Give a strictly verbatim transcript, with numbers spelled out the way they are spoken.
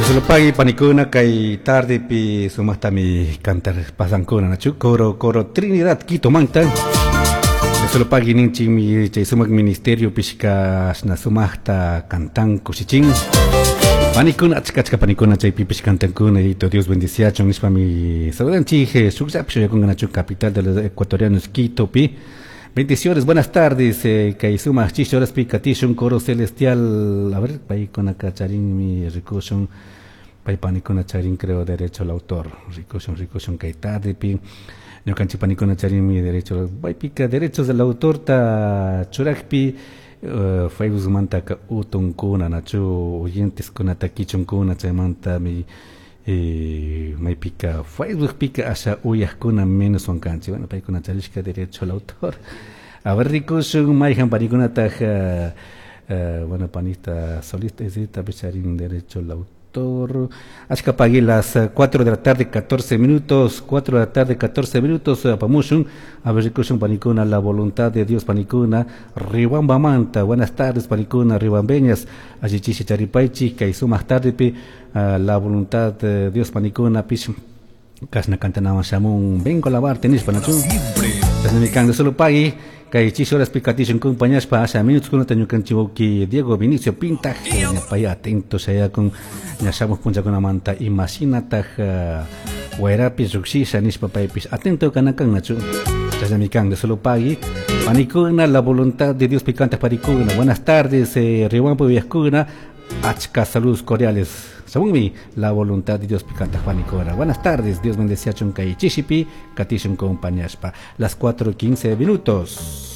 Sulupagui panikuna kay tardepi sumaktami cantar pasankuna nachu coro coro Trinidad Quito manta. Sulupagui ninchikmi chay sumak ministerio pishka ashna sumakta cantan kushichin. Panikuna achka achka panikuna chaypipish cantankuna y Dios bendiciachun nishpami saludanchik shukllapish shuyakunka nachu capital de los ecuatorianos Quito pi. Bendiciones, buenas tardes, eh, kay sumak chishi horaspi katishun coro celestial. A ver, paykunaka charinmi rikushun, pay panikuna charin creo derecho al autor, rikushun, rikushun kay tardepi. Ñukanchik panikuna charinmi derecho, paypika derechos del autor ta churakpi, uh, Facebookmantaka utunkuna nachu oyenteskunata kichunkuna chaymantami eh, maypika Facebookpika asha uyajkuna menos kanchik. Bueno, paykuna charishka derecho al autor. A ver, rikushun mayjan panikunataj uh, uh, bueno, panita solista esita charin derecho al autor. Achka pagui las cuatro de la tarde catorce minutos, cuatro de la tarde catorce minutos, apamushun. A ver, rikushun panikuna, la voluntad de Dios panikuna, Riwamba manta. Buenas tardes panikuna, riwambeñas, allichishi charipaichi, kay sumaq tardepi, uh, la voluntad de Dios panikuna, pish kasna cantanawan shamun, vengo a lavarte nishpa nachu. Chashnami solo pagui, kay chishi horas pikatishun compañashpa, asha minutos kunata ñukanchik wawki Diego Vinicio Pintaj, ñapay atento shayakun, ña shamuj punllakunamanta imashinataj uh, wayrapi llukshisha nishpa paypish atento kanakan nachu. Chashnami kan solo pagui, panikuna, la voluntad de Dios picante panikuna. Buenas tardes, eh, Riwampo uyajkuna, achka saludos cordiales. Según la voluntad de Dios picante panikuna. Buenas tardes, Dios bendeciachun kay chishipi, katishun compañashpa. Las cuatro quince minutos.